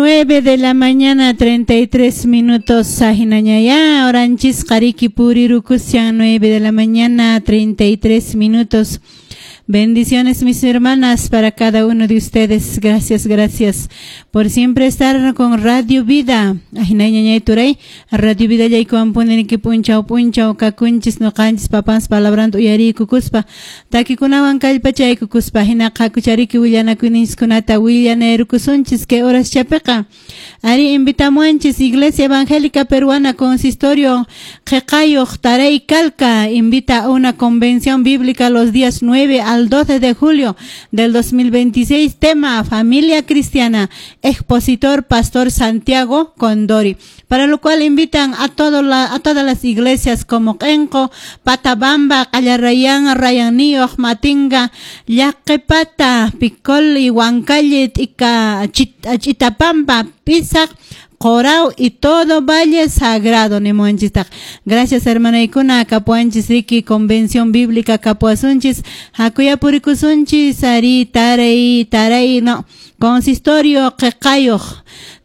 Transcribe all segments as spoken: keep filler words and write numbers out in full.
Nueve de la mañana, treinta y tres minutos. Ahinañayá, horanchis qariki purirukushan, nueve de la mañana, treinta y tres minutos. Bendiciones, mis hermanas, para cada uno de ustedes. Gracias, gracias por siempre estar con Radio Vida. Ahinañañay turay, Radio Vida yaykuwan puniriki punchaw punchaw kakunchis nuqanchis papans palabranta uyariykukuspa takikunawan kallpachaykukuspa hina qakuchariki willanakuyninchiskunata willanayrukusunchis kay horas chapiqa. Ari invitamuanchis Iglesia Evangélica Peruana Consistorio Qeqayuq Taray Calca invita a una convención bíblica los días nueve al doce de julio del dos mil veintiséis, tema Familia Cristiana, expositor Pastor Santiago Condori, para lo cual invitan a, todo la, a todas las iglesias como Qenqo, Patabamba, Qallarayán, Rayanío, Matinga, Llaqepata, Picol y Huancalle, Ica, Chitapampa, Pisac, Corao y todo Valle Sagrado, nimuanchistaq. Gracias, hermana Ikuna, kapuanchis riki, convención bíblica, kapuasunchis, hakuyapurikusunchis, ari, taray, taray, no, consistorio, qeqayuq,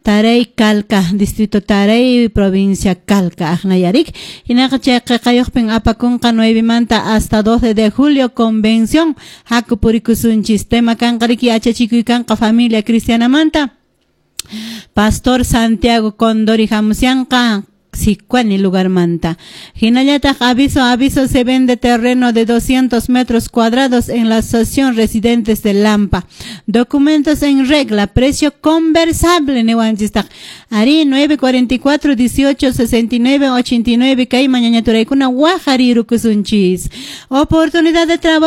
Taray Calca, distrito Taray, provincia Calca, Ajnayarik. Hinaqa chay qeqayuqpin apakunqa nueve manta hasta doce de julio, convención, hakupurikusunchis, tema kanqa riki, yachachikuy kanqa familia cristiana manta. Pastor Santiago Condori hamusyanqa Sicuani lugar manta. Hinallataq aviso, aviso, se vende terreno de doscientos metros cuadrados en la asociación Residentes de Lampa. Documentos en regla, precio conversable, niwanchistaq. Ari nueve cuarenta y cuatro, dieciocho, sesenta y nueve, ochenta y nueve, kay mañañaturaykuna waqarirukusunchis. Oportunidad de trabajo.